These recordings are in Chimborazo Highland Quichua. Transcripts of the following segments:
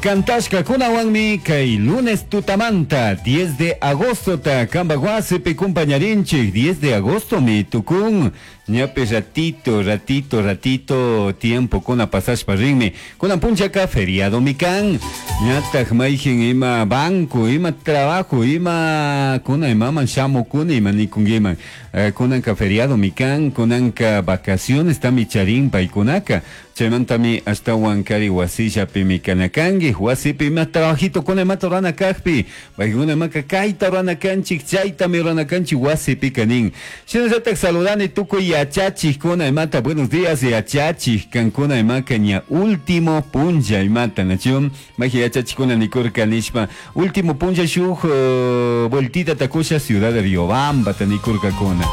Cantashkakunawanmi kay lunes tutamanta 10 de agostota kambaj wasipi kumpañarinchik. 10 de agostomi tukun. Ñapi ratito, ratito, ratito tiempo kuna pasashpa rinmi. Kunan punchaka feriadomi kan. Ñataj mayjin ima banco, ima trabajo, ima kuna imaman shamukuni ima nikunkiman. Kunanka feriadomi kan, kunanka vacaciones tami charin paykunaka. Chaymantami ashtawan kari wasillapimi kana kanki. Wasipi ima trabajito kuna imata rurana kakpi, paykuna imaka kayta rurana kanchik, chaytami rurana kanchik wasipika nin. Shinallatak saludani tukuy yachachikkuna imata, buenos días yachachik kankuna imaka ña último punlla imata, nachu? Mayji yachachikkuna nikurka nishpa, último punlla shuk vueltita takusha ciudad de Riobambata nikurkakuna.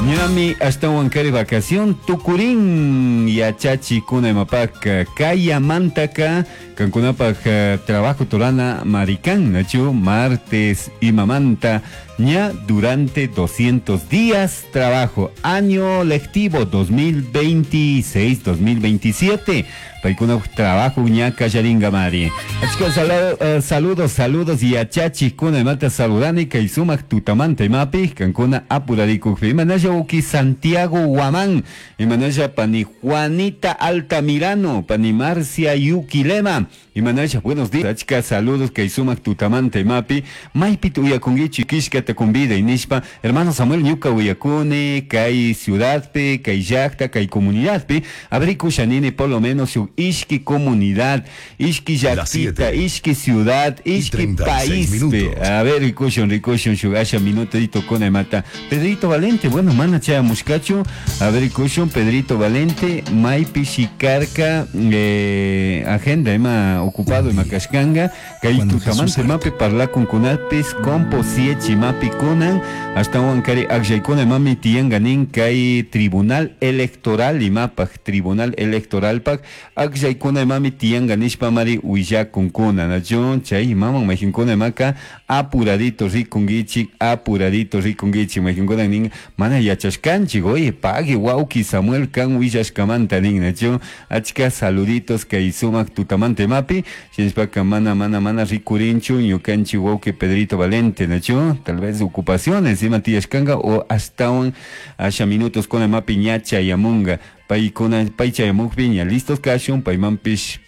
Ñami ashtawan kari vacación tukurin yachachikkuna imapaka kayamantaka kankunapak trabajo turana marikan, nachu? Martes imamanta ña durante 200 días trabajo, año lectivo 2026-2027. Paykuna trabajo ña kallaringa mari. Achka saludos, saludos yachachikkuna imata saludani kay sumak tutamanta imapi kankuna apurarikukpi. Imanalla uki Santiago Guamán, imanalla pani Juanita Altamirano, pani Marcia Yuquilema, imanalla buenos días. Achka saludos kay sumak tutamanta imapi maypi uyakunkichi kishkata kumbida inishpa hermano Samuel ñuka uyakuni kay ciudadpi, kay llakta, kay comunidadpi abrikusha nini por lo menos shuk ishki comunidad, ishki Las llaktita, siete ishki ciudad, y ishki 36 país. minutos. A ver, rikushun, rikushun, shuk asha minutito con mata. Pedrito Valente, bueno, mana chaya mushkachu. A ver, rikushun, Pedrito Valente, maypi shikarka, agenda, ima ocupado, ima kashkanga, kay Cuando tutamante Jesús mapi parlakun kunapis, compo siechi mapi kunan, hasta kari akllaykuna mami tiyanganin kay tribunal electoral imapaj, tribunal electoral pak, akllaykuna mami tiyanganishpa mari willakunkuna, nachu chay imaman majinkuna imaka apuradito rikunkichik, apuradito rikunkichik, majinkuna nin mana yachashkanchik, oye, pague wauki Samuel kan willashkamanta nin, nachu achka saluditos kay sumak tutamante mapi, shinashpaka mana, mana, mana rikurinchu ñukanchik wauki Pedrito Valente, nachu tal vez ocupaciones ima tiyashkanga o hasta asha minutos con mapi ñacha yamunga, paykuna pay chayamukpi ña listos kashun, paymanpish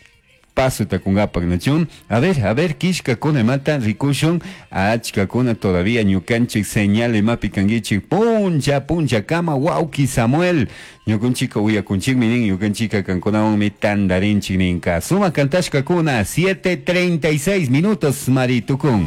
paso takungapak, nachu. A ver, kishka kuna mata rikushun, achka kuna todavía ñukanchik señal mapi kankichik, puncha, puncha kama wauki Samuel, ñukanchika uyakunchikmi nin, ñukanchika kankunawanmi tandarinchik ninka. Suma kantashka kuna, 7:36 minutos maritukun.